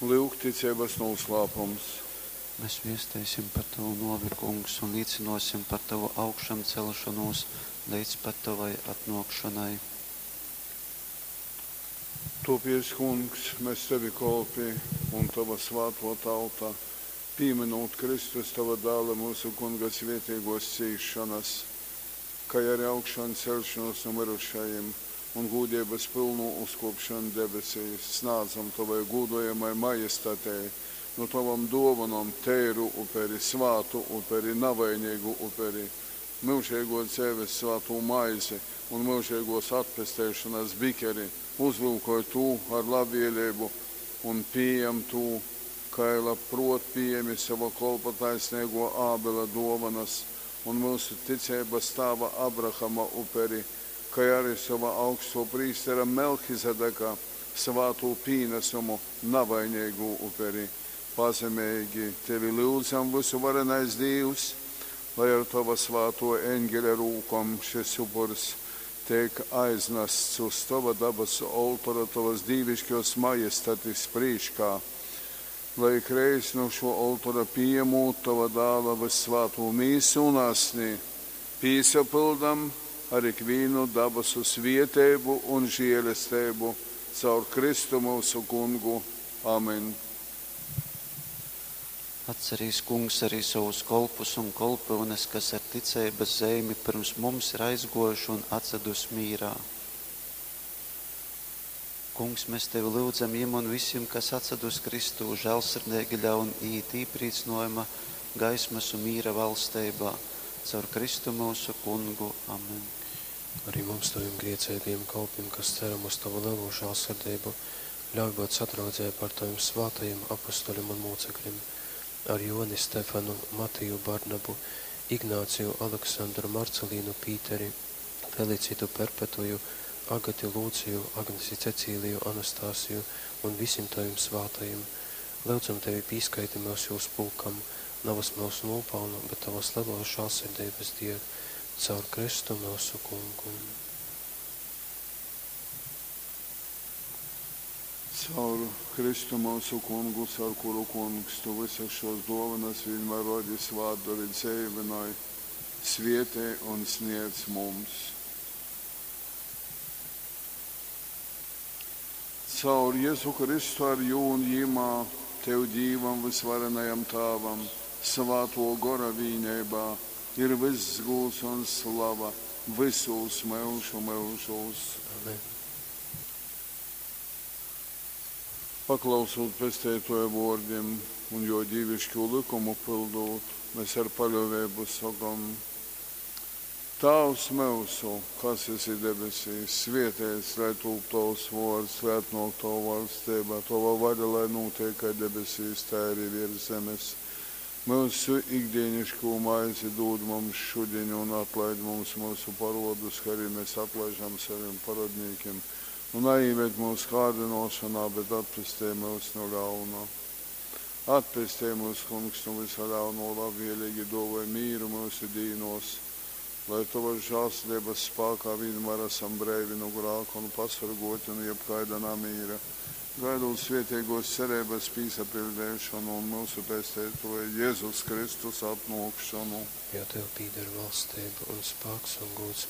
Lyuk ticeibas nūslāpums. Mes viesteisim par tovu nōvi, Kungs, un līcynōsim par tovu augšamceļšonūs leidz pat tovai atnōkšonai. Tōpēc, Kungs, mes tovi kolpi un tova svātō tauta, pīmynūt Kristus, tova Dāla, myusu Kunga svēteigōs cīsšonas, kai ari augšanceļšonūs nu myrušajim un gūdeibas pylnū uzkōpšonu debesīs, snādzam tovai gūdojamai Majestatei nu tovom dōvonom teiru uperi, svātu uperi, navaineigu uperi, myužeigōs dzeives svātū maizi un myužeigōs atpesteišonas bikeri. Uzlyukoj tū ar labvēleibu un pījam tū, kai labprōt pījemi sova kolpa taisneigō Ābela dōvonas un myusu ticeibas tāva Abrahama uperi, kai ari sova augstō prīstera Melchizedeka svātū pīnasumu, navaineigū uperi. Pazemeigi tevi lyudzam, vysuvarenais Dīvs, lai ar tova svātō eņgeļa rūkom šys upurs teik aiznasts uz tova dabasu oltora tovas dīviškōs Majestatis prīškā, lai ikreiz nu šō oltora pījamūt tova Dāla vyssvātū mīsu un asni, pīsapyldam ar ikvīnu dabasu svieteibu un želesteibu caur Kristu myusu Kungu. Amen. Atcerīs, Kungs, arī sovus kolpus un kolpyunes, kas ar ticeibas zeimi pyrms mums ir aizgōjuši un atsadus mīrā. Kungs, mēs tevi lyudzam jim un visim, kas atsadus Kristū, žēlsirdeigi ļaun iīt īprīcynojuma, gaismas un mīra valsteibā. Caur Kristu myusu Kungu. Amen. Arī mums, tovim grēcīgajiem kalpiem, kas ceram uz tavu lielo žēlsirdību, ļauj būt sadraudzē par taviem svētajiem apustuļiem un mūcekļiem, ar Joni Stefanu, Matiju Barnabu, Ignāciju, Aleksandru, Marcelīnu, Pīteri, Felicitu Perpetuju, Agati Lūciju, Agnesi Cecīliju, Anastasiju un visiem taviem svētajiem. Lūdzam tevi pīskaiti mūs jūs pulkam, navas mūsu nopelnu, bet tavas lielos žēlsirdības dēļ, caur Kristu mūsu Kungu. Caur Kristu mūsu Kungu, caur kuru Kungs, tu visas šos dāvanas vienmēr rodi svātdori dzeivinoj, svietē un sniedz mums. Caur Jēzu Kristu ar jū un jimā, tev Dīvam vysvarenajam Tāvam, svāto gora vīneibā, ir viss gūds un slava visūs myužu myužūs. Amen. Paklausūt Pesteitoja vōrdim un jō dīviškū lykumu pyldūt, mēs ar paļōveibu sokom: Tāvs myusu, kas esi debesīs, svētīts lai tūp tovs vōrds, lai atnōk tova valstība, tova vaļa, lai nūtiek kai debesīs, tā arī virs zemes. Myusu ikdienišķo maizi dod mums šodien un atlaid mums mūsu parodus, kā arī mēs atlaižam saviem parodnīkiem. Un neieved mūsu kārdinošanā, bet atpestī mūs no ļauna. Atpestī mūs, Kungs, no visa ļauno, labvēlīgi dāvāj mīru mūsu dīnos, lai tavas žēlsirdības spēkā vienmēr esam breivi no grāka un pasargoti no jebkaida namīra, gaidot svētīgos cerības pīsapildīšanu un mūsu Pesteitoja Jēzus Kristus atnākšanu. Jo tev pīder valstība un spēks un gods